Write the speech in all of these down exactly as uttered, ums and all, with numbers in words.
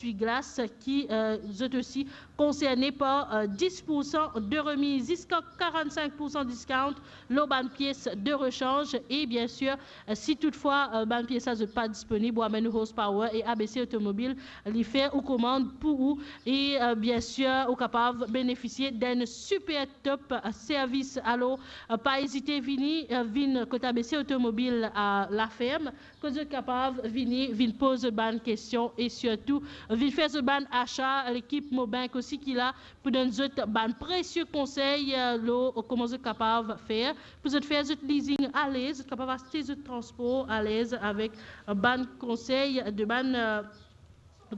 eswi-glas ki, euh, zot osi konserne par, euh, dis pour san de remiz ziska karant-sink pour san discount lor bann pies de rechanj. E biensir, euh, si toutfwa, euh, bann pies la zot pa disponib, ou amenn ou horsepower e A B C Automobile li fer ou komann pou ou. E, euh, biensir, ou kapav benefisie d'enn super top, euh, servis. Alor, euh, pa ezite vini, euh, vinn kot A B C Automobile a Laferm, kot zot kapav vini, vinn poz zot bann kestion e sirtou vinn fer zot bann asa. Lekip Mobank osi ki la pou donn zot bann presie konsey, euh, lor kouma zot kapav fer pou zot fer zot leasing alez, zot kapav aste zot transpor alez avek, euh, bann konsey de bann, euh,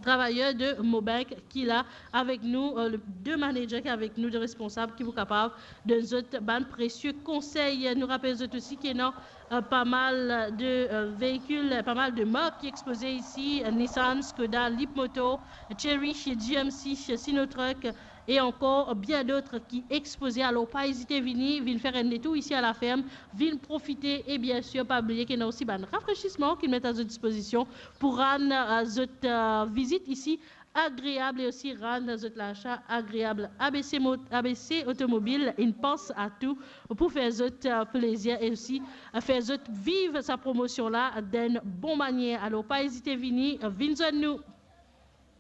travayer de Mobank ki la avek nou, euh, le, de manager ki avek nou, de responsab ki pou kapav donn zot bann presie konsey. Nou rapel zot osi ki ena, euh, pa mal de, euh, veikil, pa mal de mark ki expoze isi, euh, Nissan, Skoda, Leapmotor, Chery, G M C, Sinotruk, e ankor bien dot ki expoze. Alor, pa ezite vini, vinn fer enn letour isi a Laferm, vinn profite. E biensir, pa bliye ki ena osi bann rafresisman ki met a zot dispozision pou rann, euh, zot, euh, vizit isi agreab e osi rann zot lasa agreab. A B C Mo-, A B C Automobile, inn pans a tou pou fer zot, euh, plezir e osi, euh, fer zot viv sa promosion la d'enn bon manier. Alor, pa ezite vini, euh, vinn zwenn nou.